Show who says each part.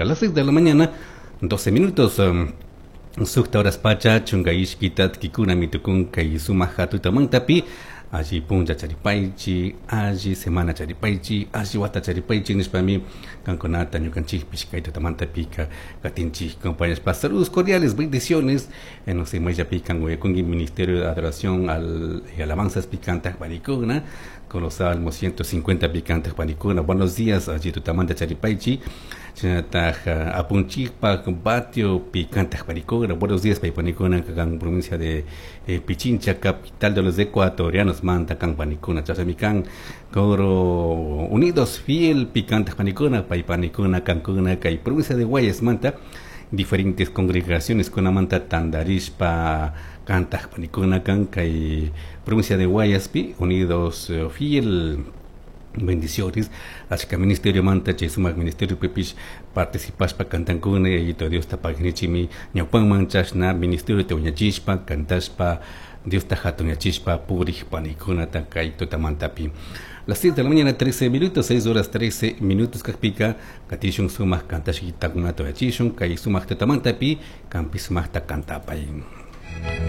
Speaker 1: A las 6 de la mañana, 12 minutos. Sukta horas pacha, chunga ishkita tkikunami tukun kay sumak tutamantapi, alli punlla charipaychi, alli semana charipaychi, alli wata charipaychi nishpami kankunata ñukanchikpish kay tutamantapika katinchik. Compañeros, saludos cordiales, bendiciones. No sé, mayllapi kan Ministerio de Adoración y Alabanzas picantas panikuna, con los Salmos 150 picantes panikuna. Buenos días, alli tutamanta charipaychi. Shinataj apunchikpak batio picantes panikuna. Buenos días, paypanikuna, kan provincia de Pichincha, capital de los ecuatorianos, manta kan panikuna. Chasami kan coro unidos fiel picantes panikuna, paypanikuna, kankuna, kay provincia de Guayas manta, diferentes congregaciones kunamanta tandarishpa kantaj panikuna kan kay provincia de Guayaspi, unidos fiel. Bendiciones. Achka ministerio manta chay sumak ministerio pipish participashpa kantankuna yayito Diosta pagnichimi ñawpanman chashna ministerio te wiñachishpa cantashpa Diosta hatunyachishpa purij panikunata kay tutamantapi. Las 6 de la mañana 13 minutos, 6 horas 13 minutos kakpika katishun sumak kantashkitakunata uyachishun kay sumak tutamantapi kampi sumakta kantapay.